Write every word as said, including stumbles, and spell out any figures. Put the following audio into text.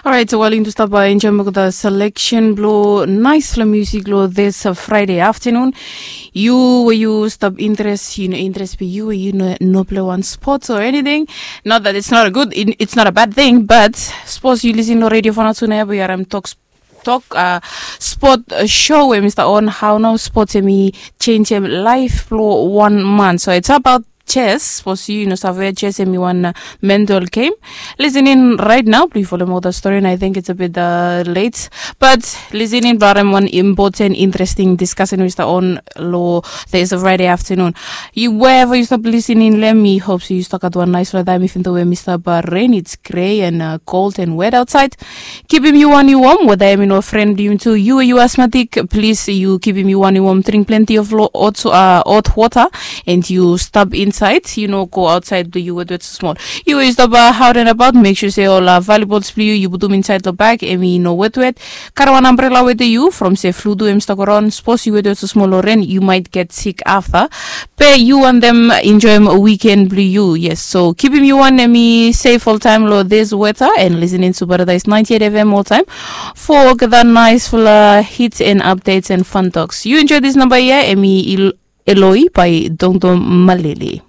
Orait, so wali yu stap enjoim olgeta selection blo naispela musik lo this Friday afternoon. Yu we yu stap interes, yu no interes be yu we yu no no play one sports or anything. Not that it's not a good, it's not a bad thing, but suppose yu lisin lo radio fanatu na ya be yu harim tok tok uh, sport uh, show we Mr. On how no sports emi change em life blo one month. So it's about chess. Suppose yu no save chess emi one uh, mental game. Listen in right now. Please follow more the story, and I think it's a bit uh, late. But listen in, blo harim one important, interesting discussion Mr. On lo this Friday afternoon. You wherever you stop listening, let me hope so you stuck at one nice weather. Even though we Mr. Rain, it's gray and uh, cold and wet outside. Kipim yu wan yu wom weta em i no fren blong yumi tu. Yu yu asmatik, plis yu kipim yu wan yu wom, dring plenti of hot wota, and yu stap insaed, yu no go aotsaed blong yu wetwet smol. Yu yu stap aot and abaot, mek sua se ol valibols blong yu yu putum insaed long bag, em i no wetwet. Karim wan ambrela wetem yu from se flu tu em stap go raon. Sapos yu wetwet smol long ren, yu maet get sik afta. Be yu wantem enjoim wiken blong yu. Yes, so kipim yu wan em i sef oltaem long this weta and listening to Paradise ninety-eight F M oltaem for olgeta naesfala hits and updates and fun talks. Yu enjoy this namba ia, em i Eloi by Dongdong Malili.